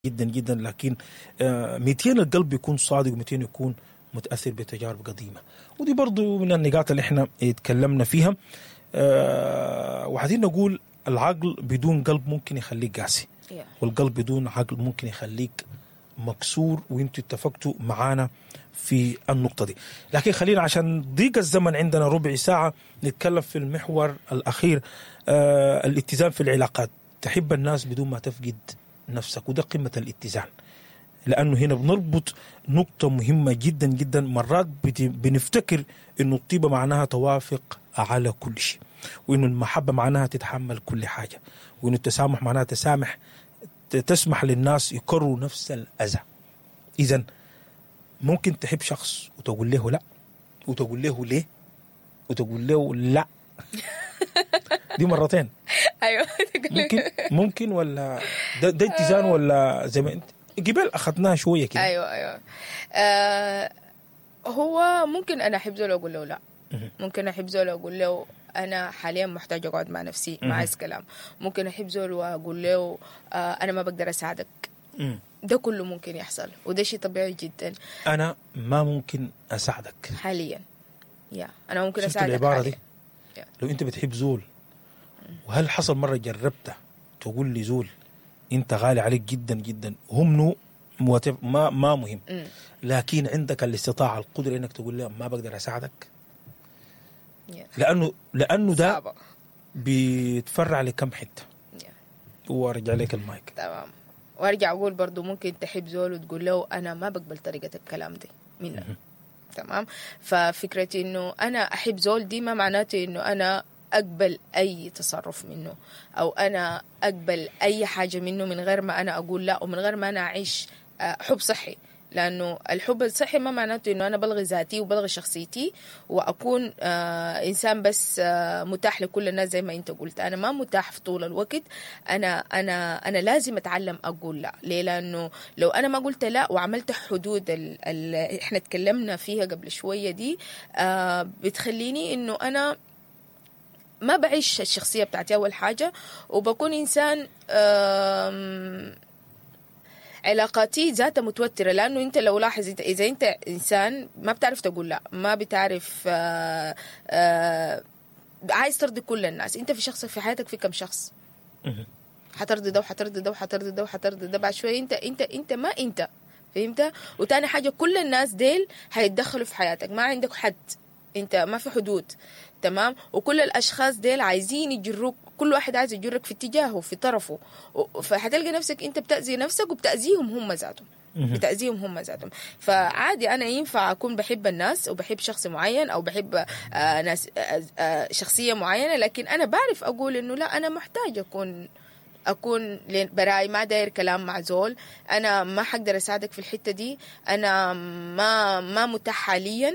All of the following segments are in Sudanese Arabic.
جدا جدا، لكن 200 القلب يكون صادق و200 يكون متاثر بتجارب قديمة، ودي برضو من النقاط اللي احنا اتكلمنا فيها. وعايزين نقول العقل بدون قلب ممكن يخليك قاسي، والقلب بدون عقل ممكن يخليك مكسور، وانتوا اتفقتوا معانا في النقطة دي. لكن خلينا عشان ضيق الزمن عندنا ربع ساعة نتكلم في المحور الأخير، الاتزان في العلاقات. تحب الناس بدون ما تفقد نفسك، وده قمة الاتزان، لأنه هنا بنربط نقطة مهمة جدا جدا. مرات بنفتكر إنه الطيبة معناها توافق على كل شيء، وإنه المحبة معناها تتحمل كل حاجة، وإنه التسامح معناها تسامح، تسمح للناس يكرروا نفس الأذى. إذا ممكن تحب شخص وتقول له لا، وتقول له ليه، وتقول له لا دي مرتين. ايوه. ممكن ولا ده اتزان، ولا زي ما انت قبل اخذناها شوية كده. ايوه. هو ممكن انا احب زول واقول له لا، ممكن احب زول واقول له انا حاليا محتاج اقعد مع نفسي، ما عايز كلام. ممكن احب زول واقول له انا ما بقدر اساعدك. ده كله ممكن يحصل، وده شيء طبيعي جدا. انا ما ممكن اساعدك حاليا، يا انا ممكن اساعدك. العبارة دي لو انت بتحب زول، وهل حصل مرة جربت تقول لي زول انت غالي عليك جدا جدا، هم نو ما مهم، لكن عندك الاستطاعة القدرة انك تقول له ما بقدر اساعدك؟ لانه ده بيتفرع لكم حتة. وارجع لك المايك. تمام. وارجع اقول برضو ممكن تحب زول وتقول له انا ما بقبل طريقه الكلام دي منك. تمام. ففكرة انه انا احب زول دي ما معناته انه انا اقبل اي تصرف منه، او انا اقبل اي حاجة منه من غير ما انا اقول لا، ومن غير ما انا اعيش حب صحي. لانه الحب الصحي ما معناته انه انا بلغي ذاتي وبلغي شخصيتي واكون انسان بس متاح لكل الناس. زي ما انت قلت انا ما متاح في طول الوقت، انا انا انا لازم اتعلم اقول لا. ليه؟ لانه لو انا ما قلت لا وعملت حدود اللي احنا اتكلمنا فيها قبل شوية دي، بتخليني انه انا ما بعيش الشخصية بتاعتي اول حاجة، وبكون انسان علاقاتي ذاتها متوترة. لأنه أنت لو لاحظ إذا أنت إنسان ما بتعرف تقول لا، ما بتعرف عايز ترضي كل الناس، أنت في شخص في حياتك في كم شخص حترضي ده وحترضي ده وحترضي ده وحترضي ده، بعد شوية أنت أنت أنت ما أنت فهمت. وتاني حاجة كل الناس ديل هيتدخلوا في حياتك، ما عندك حد، أنت ما في حدود. تمام. وكل الأشخاص ديل عايزين يجروك، كل واحد عايز يجرك في اتجاهه في طرفه، فحتلقى نفسك انت بتأذي نفسك وبتأذيهم هم ذاتهم، بتأذيهم هم ذاتهم. فعادي انا ينفع اكون بحب الناس وبحب شخص معين او بحب ناس شخصية معينة، لكن انا بعرف اقول انه لا، انا محتاج اكون براي، ما داير كلام مع زول، انا ما حقدر اساعدك في الحتة دي، انا ما متاح حاليا،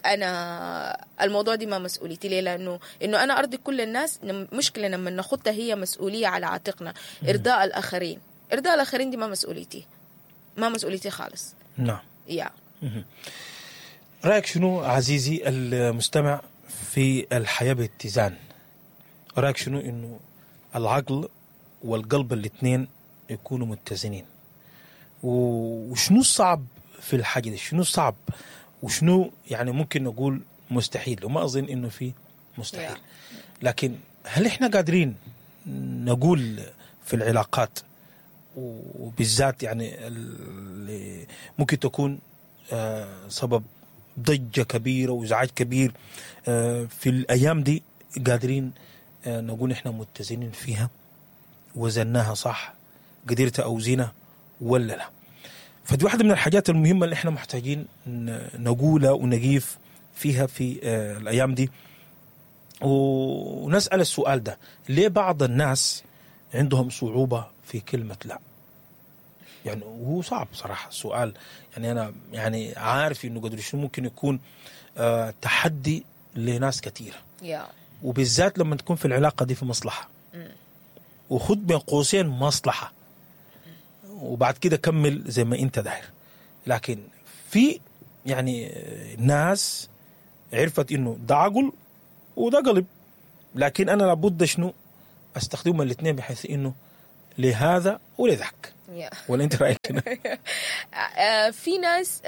أنا الموضوع دي ما مسؤوليتي. ليه؟ لأنه إنه أنا أرضي كل الناس مشكلة لما ناخدها هي مسؤولية على عاتقنا. إرضاء الآخرين، إرضاء الآخرين دي ما مسؤوليتي، ما مسؤوليتي خالص. نعم. يا رأيك شنو عزيزي المستمع في الحياة باتزان؟ رأيك شنو إنه العقل والقلب الاثنين يكونوا متزنين؟ وشنو الصعب في الحاجة دي؟ شنو الصعب؟ وشنو يعني ممكن نقول مستحيل؟ وما أظن إنه في مستحيل. لكن هل إحنا قادرين نقول في العلاقات، وبالذات يعني اللي ممكن تكون سبب ضجة كبيرة وإزعاج كبير في الأيام دي، قادرين نقول إحنا متزنين فيها، وزناها صح، قدرت أوزنها ولا لا؟ فدي واحدة من الحاجات المهمة اللي احنا محتاجين نقولها ونقيف فيها في الأيام دي، ونسأل السؤال ده: ليه بعض الناس عندهم صعوبة في كلمة لا؟ يعني هو صعب صراحة السؤال، يعني أنا يعني عارف إنه قدر شنو ممكن يكون تحدي لناس كثيرة، وبالذات لما تكون في العلاقة دي في مصلحة، وخد بين قوسين مصلحة، وبعد كده كمل زي ما انت داير. لكن في يعني ناس عرفت انه ده عقل وده قلب، لكن انا لابد شنو استخدمهم الاثنين بحيث انه لهذا ولذاك. ولا انت رايك شنو؟ في ناس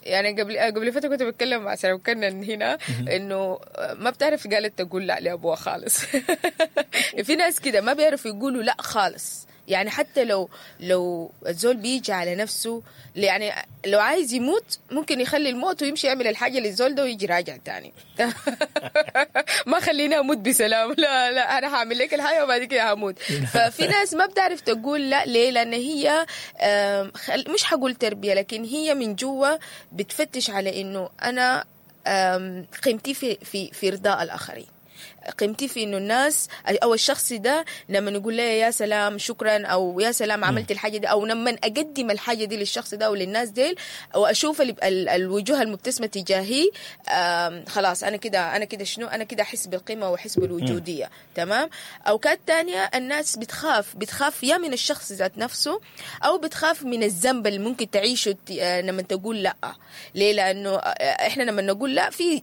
يعني قبل فترة كنت بتكلم مع سلام كنن هنا انه ما بتعرف قالت تقول لا لابوها خالص. في ناس كده ما بيعرفوا يقولوا لا خالص، يعني حتى لو الزول بيجي على نفسه، يعني لو عايز يموت ممكن يخلي الموت ويمشي يعمل الحاجة للزول ده ويجي راجع تاني. ما خليني اموت بسلام، لا لا انا هعمل لك الحاجة وبعد كده هموت. ففي ناس ما بتعرف تقول لا. ليه؟ لان هي مش حقول تربية، لكن هي من جوا بتفتش على انه انا قيمتي في في في ارضاء الاخرين، قيمتي في انه الناس او الشخص ده لما نقول له يا سلام شكرا، او يا سلام عملت الحاجة دي، او لما اقدم الحاجة دي للشخص ده او للناس ديل، واشوف الوجوه المبتسمه تجاهي، خلاص انا كده، انا كده شنو، انا كده احس بالقيمة واحس بالوجوديه. تمام. اوقات تانية الناس بتخاف يا من الشخص ذات نفسه، او بتخاف من الذنب اللي ممكن تعيشه لما تقول لا. ليه؟ لانه احنا لما نقول لا في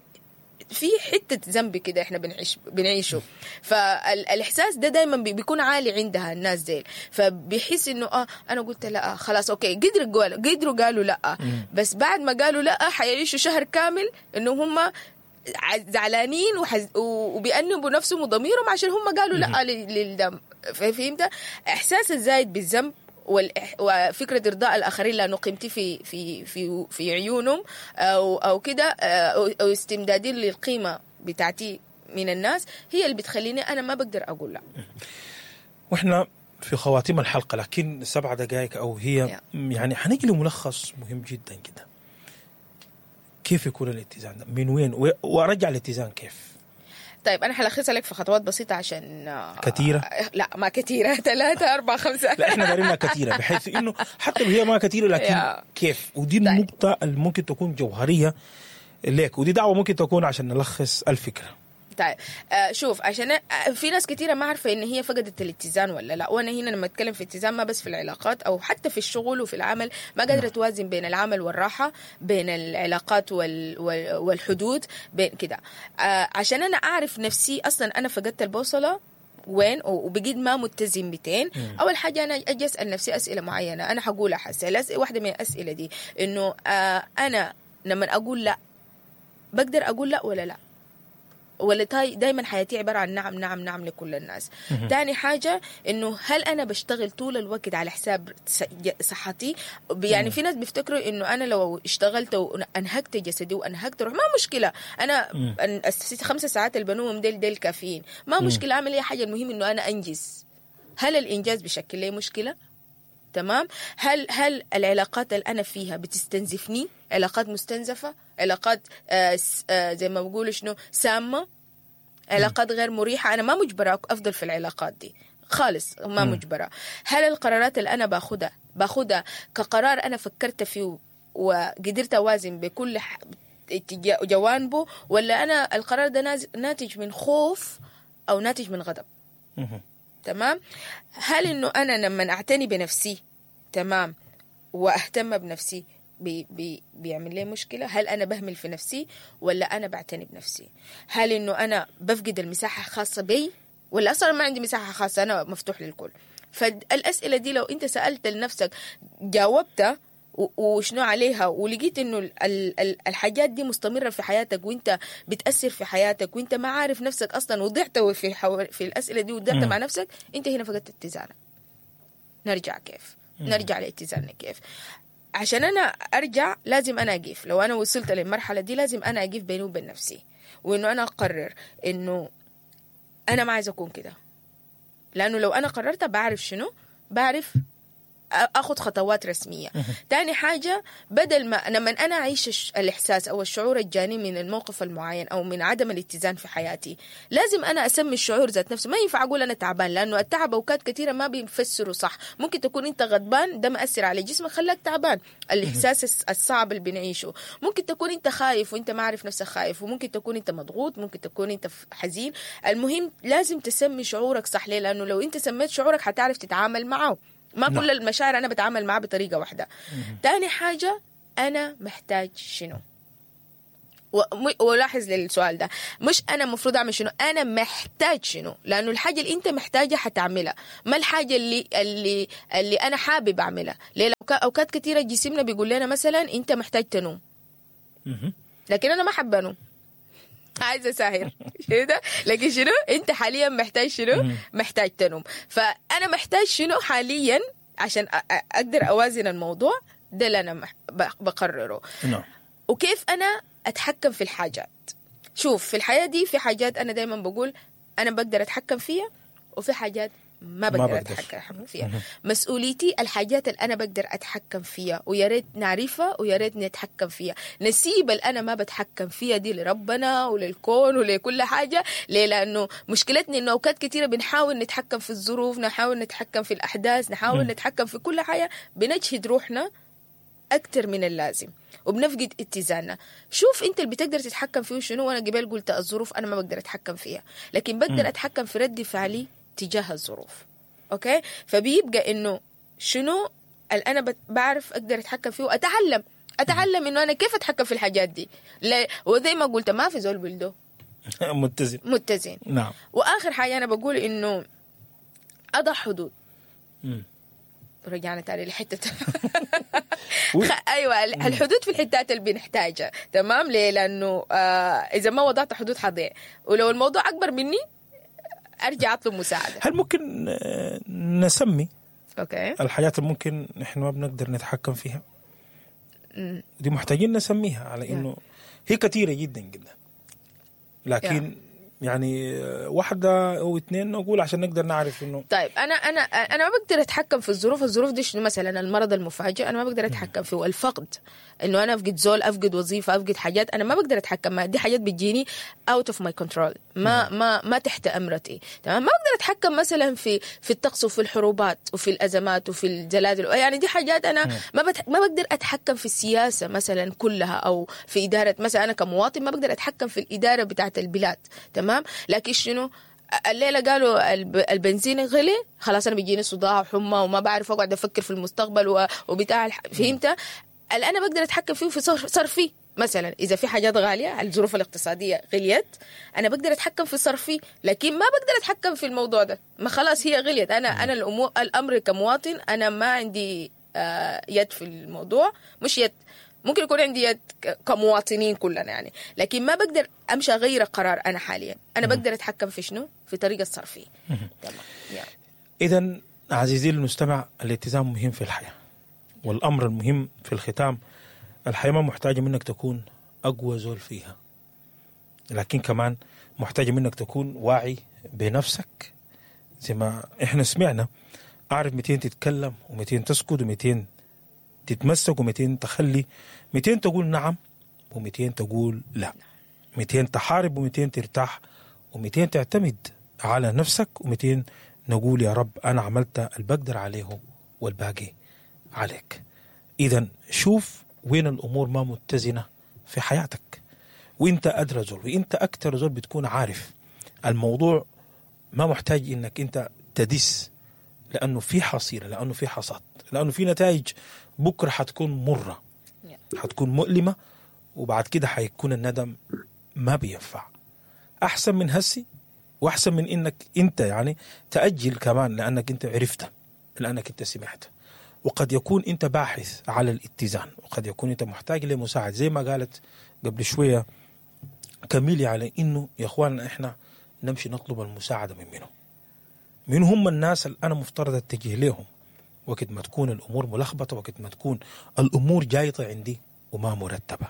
حتة ذنب كده احنا بنعيشه. فالاحساس ده دايما بيكون عالي عندها الناس ديل، فبيحس انه انا قلت لا خلاص okay، قدروا قالوا لا، بس بعد ما قالوا لا حيعيشوا شهر كامل انه هم زعلانين وبيأنبوا نفسهم وضميرهم عشان هم قالوا لا للدم. فهمت؟ احساس الزايد بالذنب وفكرة إرضاء الآخرين لأنه قيمتي في في في في عيونهم أو كده، أو استمدادي للقيمة بتاعتي من الناس، هي اللي بتخليني أنا ما بقدر أقول لا. وإحنا في خواتيم الحلقة، لكن 7 دقائق أو هي يعني حنيجي لملخص مهم جدا جدا. كيف يكون الاتزان ده؟ من وين؟ وأرجع الاتزان كيف؟ طيب أنا حلخصها لك في خطوات بسيطة عشان كثيرة؟ لا ما كثيرة، 3 4 5. لا إحنا دارينها كثيرة، بحيث إنه حتى لو هي ما كثيرة لكن كيف؟ ودي النقطة اللي ممكن تكون جوهرية لك، ودي دعوة ممكن تكون عشان نلخص الفكرة. طيب شوف، عشان في ناس كثيرة ما عارفة إن هي فقدت الاتزان ولا لا. وأنا هنا لما أتكلم في اتزان ما بس في العلاقات أو حتى في الشغل وفي العمل، ما قادرة توازن بين العمل والراحة، بين العلاقات والحدود، بين كده. عشان أنا أعرف نفسي أصلا أنا فقدت البوصلة وين وبقيت ما متزن 200. أول حاجة أنا أجي أسأل نفسي أسئلة معينة، أنا حقولها حسي. واحدة من الأسئلة دي إنه أنا لما أقول لا بقدر أقول لا ولا لا، ولا دايما حياتي عبارة عن نعم نعم نعم لكل الناس. تاني حاجة إنه هل أنا بشتغل طول الوقت على حساب صحتي؟ يعني في ناس بيفتكروا إنه أنا لو اشتغلت وأنهكت جسدي وأنهكت روح ما مشكلة، أنا 5 ساعات اللي بنوم ديل كافيين، ما مشكلة أعمل أي حاجة، المهم إنه أنا أنجز. هل الإنجاز بشكل لي مشكلة؟ تمام. هل العلاقات اللي أنا فيها بتستنزفني؟ علاقات مستنزفة، علاقات زي ما بقولوا شنو سامة، علاقات غير مريحة. أنا ما مجبرة أفضل في العلاقات دي خالص، ما مجبرة. هل القرارات اللي أنا باخدها كقرار أنا فكرت فيه وقدرت أوازن بكل جوانبه، ولا أنا القرار ده ناتج من خوف أو ناتج من غضب؟ تمام. هل إنه أنا لما أعتني بنفسي تمام وأهتم بنفسي بي بي بيعمل لي مشكلة؟ هل أنا بهمل في نفسي ولا أنا بعتني بنفسي؟ هل إنه أنا بفقد المساحة الخاصة بي ولا أصلا ما عندي مساحة خاصة، أنا مفتوح للكل؟ فالأسئلة دي لو أنت سألت لنفسك جاوبتها وشنو عليها، ولقيت إنه الحاجات دي مستمرة في حياتك وإنت بتأثر في حياتك وإنت ما عارف نفسك أصلا، وضعت في الأسئلة دي وضعت مع نفسك، أنت هنا فقدت اتزانك. نرجع كيف؟ نرجع لاتزاننا كيف؟ عشان أنا أرجع لازم أنا أقف. لو أنا وصلت للمرحلة دي لازم أنا أقف بيني وبين نفسي، وإنه أنا أقرر إنه أنا ما عايز أكون كده، لأنه لو أنا قررت بعرف شنو، بعرف أخذ خطوات رسمية. تاني حاجة، بدل ما لما أنا أعيش الإحساس أو الشعور الجاني من الموقف المعين أو من عدم الاتزان في حياتي، لازم أنا أسمي الشعور ذات نفسه. ما ينفع أقول أنا تعبان، لأنه التعب أوقات كثيرة ما بيفسروا صح. ممكن تكون أنت غضبان، ده مأثر على جسمك خلاك تعبان، الإحساس الصعب اللي بنعيشه. ممكن تكون أنت خايف وأنت ما عارف نفسك خايف، وممكن تكون أنت مضغوط، ممكن تكون أنت حزين. المهم لازم تسمي شعورك صح. ليه؟ لأنه لو أنت سميت شعورك حتعرف تتعامل معه. ما كل المشاعر أنا بتعامل معها بطريقة واحدة. تاني حاجة، أنا محتاج شنو؟ ولاحظ للسؤال ده، مش انا المفروض اعمل شنو، انا محتاج شنو، لانه الحاجة اللي انت محتاجها حتعملها، ما الحاجة اللي انا حابب اعملها. ليه؟ اوقات كثيرة جسمنا بيقول لنا مثلا انت محتاج تنوم، لكن انا ما حابة انوم، عايزه اساهر كده. لكن شنو انت حاليا محتاج شنو؟ محتاج تنوم. فانا محتاج شنو حاليا عشان اقدر اوازن الموضوع ده اللي انا بقرره. وكيف انا اتحكم في الحاجات. شوف في الحياة دي في حاجات انا دايما بقول انا بقدر اتحكم فيها، وفي حاجات ما بقدر اتحكم فيها. مسؤوليتي الحاجات اللي انا بقدر اتحكم فيها، ويا ريت نعرفها ويا ريت نتحكم فيها. نسيب اللي انا ما بتحكم فيها دي لربنا وللكون ولكل حاجة. ليه؟ لانه مشكلتنا انه اوقات كثيرة بنحاول نتحكم في الظروف، نحاول نتحكم في الاحداث، نحاول نتحكم في كل حاجة، بنجهد روحنا أكتر من اللازم وبنفقد اتزاننا. شوف أنت اللي بتقدر تتحكم فيه شنو. وأنا قبل قلت الظروف أنا ما بقدر أتحكم فيها، لكن بقدر أتحكم في رد فعلي تجاه الظروف. okay؟ فبيبقى إنه شنو اللي أنا بعرف أقدر أتحكم فيه، وأتعلم إنه أنا كيف أتحكم في الحاجات دي. وزي ما قلت ما في زول بلده متزن. نعم. وآخر حاجة أنا بقول إنه أضع حدود. رجعنا تاني لحتة ايوه، الحدود في الحتات اللي بنحتاجها. تمام؟ ليه؟ لانه اذا ما وضعت حدود حضيع، ولو الموضوع اكبر مني ارجع اطلب مساعدة. هل ممكن نسمي الحاجات اللي ممكن نحن ما بنقدر نتحكم فيها؟ دي محتاجين نسميها على انه هي كثيرة جدا جدا، لكن يعني واحدة أو اثنين نقول عشان نقدر نعرف إنه طيب أنا ما بقدر أتحكم في الظروف. الظروف دي شنو؟ مثلا المرض المفاجئ أنا ما بقدر أتحكم فيه، الفقد، إنه أنا أفقد زول، أفقد وظيفة، أفقد حاجات أنا ما بقدر أتحكم. ما دي حاجات بتجيني out of my control، ما تحت أمرتي. تمام؟ ما بقدر أتحكم مثلا في الطقس وفي الحروبات وفي الأزمات وفي الزلازل، يعني دي حاجات أنا ما بقدر أتحكم في السياسة مثلا كلها، أو في إدارة مثلا. أنا كمواطن ما بقدر أتحكم في الإدارة بتاعة البلاد. تمام؟ لكن شنو الليلة قالوا البنزين غلي، خلاص أنا بيجيني صداع وحمى وما بعرف أقعد أفكر في المستقبل وبتاع. فهمت؟ اللي أنا بقدر أتحكم فيه في صرفي مثلا، إذا في حاجات غالية، الظروف الاقتصادية غليت، أنا بقدر أتحكم في صرفي، لكن ما بقدر أتحكم في الموضوع ده. ما خلاص هي غليت، أنا الأمر كمواطن أنا ما عندي يد في الموضوع. مش يد، ممكن يكون عندي يد كمواطنين كلنا يعني، لكن ما بقدر أمشي أغير قرار أنا حاليا. أنا بقدر أتحكم في شنو؟ في طريقة الصرفية. تمام. إذن عزيزي المستمع، الاتزان مهم في الحياة، والأمر المهم في الختام، الحياة ما محتاجة منك تكون أقوى زول فيها، لكن كمان محتاجة منك تكون واعي بنفسك. زي ما إحنا سمعنا، أعرف 200 تتكلم و200 تسكت و200 تتمسك و200 تخلي، 200 تقول نعم و200 تقول لا، 200 تحارب و200 ترتاح، و200 تعتمد على نفسك، و200 نقول يا رب أنا عملت اللي بقدر عليه والباقي عليك. إذا شوف وين الأمور ما متزنة في حياتك، وإنت أدرى زول، وإنت أكتر زول بتكون عارف الموضوع. ما محتاج إنك أنت تدس، لأنه في حصيلة، لأنه في حصاد، لأنه في نتائج بكرة حتكون مرة، حتكون مؤلمة، وبعد كده حيكون الندم ما بينفع. أحسن من هسي، وأحسن من إنك أنت يعني تأجل كمان، لأنك أنت عرفته، لأنك أنت سمعته. وقد يكون أنت باحث على الاتزان، وقد يكون أنت محتاج لمساعد، زي ما قالت قبل شوية كميلي، على إنه يا أخواننا إحنا نمشي نطلب المساعدة من منه، من هم الناس اللي أنا مفترض أتجه لهم وقت ما تكون الأمور ملخبطة، وقت ما تكون الأمور جايطة عندي وما مرتبة.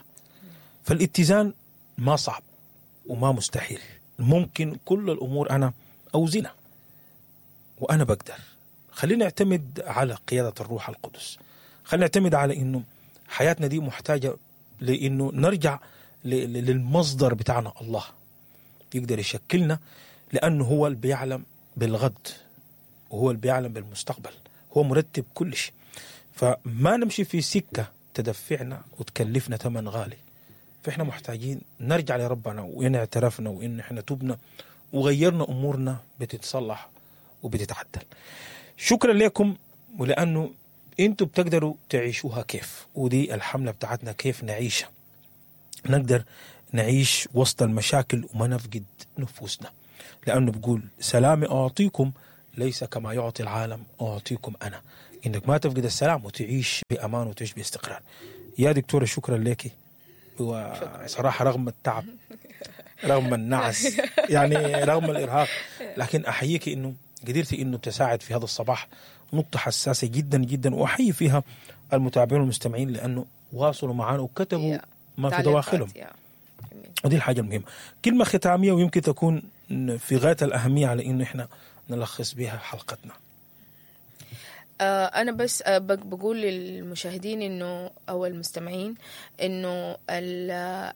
فالاتزان ما صعب وما مستحيل، ممكن كل الأمور أنا أوزنها وأنا بقدر. خلينا نعتمد على قيادة الروح القدس، خلينا نعتمد على إنه حياتنا دي محتاجة لإنه نرجع للمصدر بتاعنا، الله يقدر يشكلنا، لأنه هو اللي بيعلم بالغد وهو اللي بيعلم بالمستقبل، هو مرتب كل شيء. فما نمشي في سكة تدفعنا وتكلفنا ثمن غالي. فإحنا محتاجين نرجع لربنا، وإن اعترفنا وإن إحنا تبنا وغيرنا أمورنا بتتصلح وبتتعدل. شكرا لكم، ولأنه أنتوا بتقدروا تعيشوها كيف، ودي الحملة بتاعتنا كيف نعيشها، نقدر نعيش وسط المشاكل وما نفقد نفوسنا، لأنه بيقول سلامي أعطيكم ليس كما يعطي العالم أعطيكم أنا. إنك ما تفقد السلام وتعيش بأمان وتعيش باستقرار. يا دكتورة شكرا لك، وصراحة رغم التعب، رغم النعس، يعني رغم الإرهاق، لكن أحييك إنه قدرتي إنه تساعد في هذا الصباح نقطة حساسة جدا جدا، وأحيي فيها المتابعين والمستمعين لأنه واصلوا معنا وكتبوا ما في دواخلهم، ودي الحاجة المهمة. كلمة ختامية ويمكن تكون في غاية الأهمية على إنه إحنا نلخص بها حلقتنا. أنا بس بقول للمشاهدين إنه أو المستمعين إنه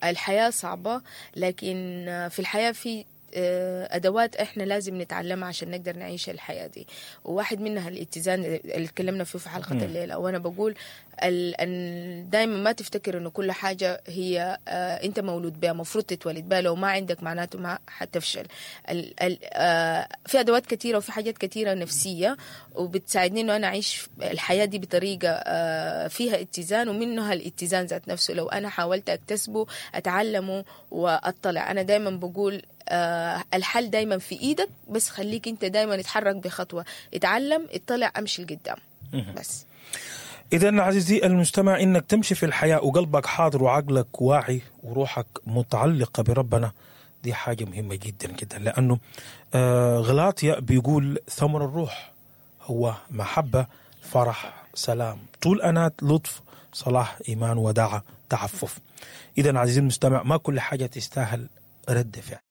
الحياة صعبة، لكن في الحياة في أدوات إحنا لازم نتعلمها عشان نقدر نعيش الحياة دي، وواحد منها الاتزان اللي تكلمنا فيه في حلقة الليلة. وأنا بقول دايما ما تفتكر إنه كل حاجة هي أنت مولود بها، مفروض تتولد بها، لو ما عندك معناته ما حتفشل. في أدوات كثيرة وفي حاجات كثيرة نفسية وبتساعدني إنه أنا أعيش الحياة دي بطريقة فيها اتزان، ومنها الاتزان ذات نفسه لو أنا حاولت أكتسبه أتعلمه وأطلع. أنا دايما بقول الحل دايما في ايدك، بس خليك انت دايما اتحرك بخطوة، اتعلم، اطلع، امشي لقدام بس. اذا عزيزي المستمع، انك تمشي في الحياة وقلبك حاضر وعقلك واعي وروحك متعلقه بربنا، دي حاجة مهمة جدا جدا، لانه غلاطيا بيقول ثمر الروح هو محبة، فرح، سلام، طول انات، لطف، صلاح، ايمان، وداعه، تعفف. اذا عزيزي المستمع، ما كل حاجة تستاهل رد فعل.